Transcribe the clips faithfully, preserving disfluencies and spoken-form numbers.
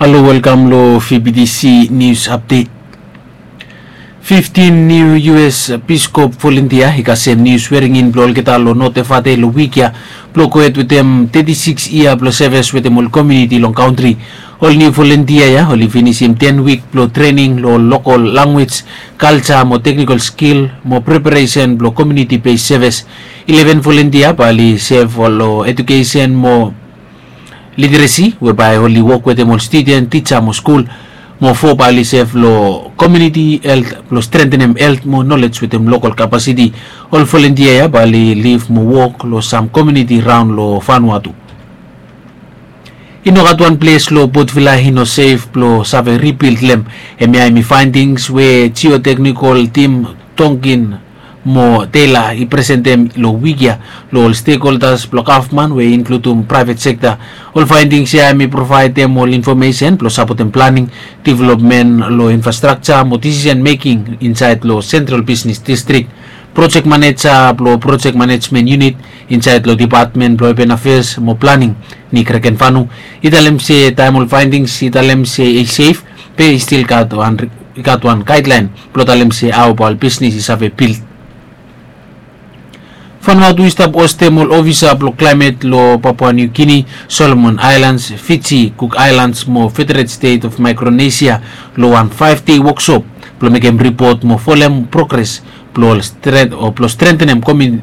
Halo, welkam lo V B T C News Update. Fiftin niu U S Peace Corps volunteer i kasem niu swearing in blo olgeta lo North Efate lo wik ya, blo gohed wetem teti sikis yia blo sevis wetem ol komuniti long kantri. Ol niu volunteer ya oli finisim ten wik blo trening lo lokol lanwis, kalja mo teknikol skil mo preparesen blo komuniti bes sevis. Ileven volunteer bae oli sev lo edukesen mo literesi, we bae oli wok wetem ol studen, tija mo skul. Mo fo bae oli sev lo komuniti helt blo strentenem helt mo nolej wetem lokol kapasiti. Ol volunteer ya bae oli liv mo wok lo sam komuniti raon lo Vanuatu. I no gat wan ples lo Port Vila i no sef blo save ribild lo hem. Hemia hemi faendings we jioteknikol tim Tonkin mo Taylor i presentem lo wik ya lo ol stekholdas blo gavman we i inkludum praevet sekta. Ol faendings ya hemi provaedem ol infomesen blo sapotem planing, developmen lo infrastrakja mo disisen meking insaed lo sentral bisnes distrik. Projek maneja blo projek manejmen yunit insaed lo depatmen blo apen afeas mo planing, Nick Rekenfanu, i talem se taem ol faendings i talem se i sef, be i stil gat wan, i gat wan gaedlaen blo talem se hao bae ol bisnes i save bild. Vanuatu i stap hostem ol ofisa blo klaemet lo Papua New Guinea, Solomon Islands, Fiji, Cook Islands mo Federated State of Micronesia lo wan faef dei woksop blo mekem ripot mo folem progres blo ol stren- o blo strentenem komi-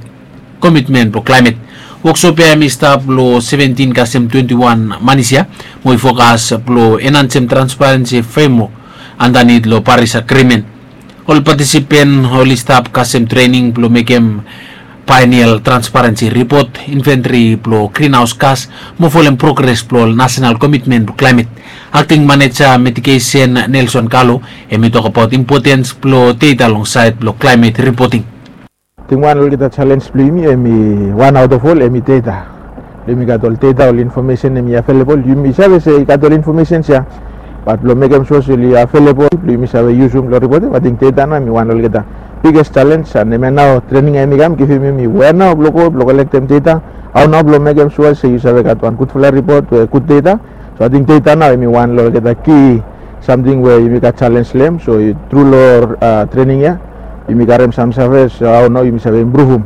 komitmen blo klaemet. Woksop ya hemi stap lo seventin kasem twenti wan manis ya, mo i fokas blo enhansem transparensi fremwok andanit lo Paris Agrimen. Ol patisipen oli stap kasem trening blo mekem baenial transparensi ripot, inventri blo grinhaos gas, mo folem progres blo ol nasenal komitmen blo klaemet. Akting maneja mitigesen Nelson Kalo hemi tokbaot impotens blo deta long saed blo klaemet ripoting. Ating wan lo olgeta jalenj blo yumi hemi wan aot of ol hemi deta. Blo yumi gat ol deta, ol infomesen hemi avelebol. Yumi save se i gat ol infomesens ya, bat blo mekem sua se oli avelebol blo yumi save yusum lo ripotem, ating deta nao hemi wan lo olgeta biges jalenj. An hemia nao trening ya hemi kam givim yumi wea nao blo go blo kolektem deta, hao nao blo mekem sua se yu save gat wan gudfala ripot we gud deta. So ating deta nao hemi wan lo olgeta ki samting we yumi gat jalenj lo hem. So tru lo trening ya yumi karem sam save, so hao nao yumi save impruvum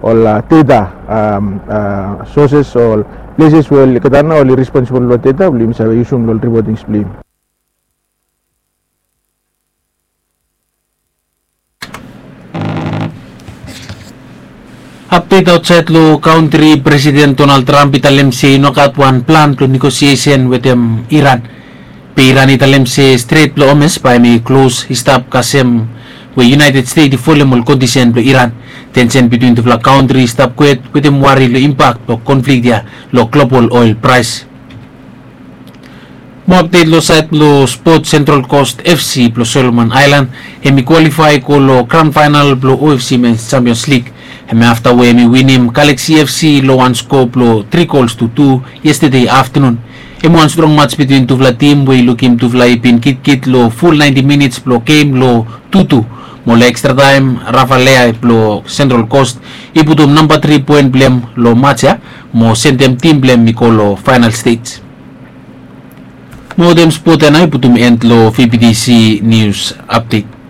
ol deta, soses, ol pleses we olgeta nao oli responsibol lo deta blo yumi save yusum lo ol ripotings blo yumi. Apdet aotsaed lo kantri, Presiden Donald Trump i talem se i no gat wan plan blo negosiesen wetem Iran. Be Iran i talem se Stret blo Hormuz bae hemi klos i stap kasem we United States i folem ol kondisen blo Iran. Tensen bitwin tufala kantri i stap kwet wetem wari lo impak blo konflik ya lo global oel praes. Mo apdet lo saed blo spot, Central Coast F C blo Solomon Island hemi kwalifae go lo gran faenal blo O F C Men's Champions League. Hemi afta we hemi winim Galaxy F C lo wan skoa blo tri gols tu tu yestede aftenun. Hemi wan strong maj bitwin tufala tim we i lukim tufala i bin kitkit lo ful naenti minits blo gem lo tu tu. Mo lo ekstra taem, Rafa Leai blo Central Coast i putum namba tri poen blo hem lo maj ya mo sendem tim blo hem i go lo faenal stej. Mo wetem spot ya nao i putum en lo V B T C News Update.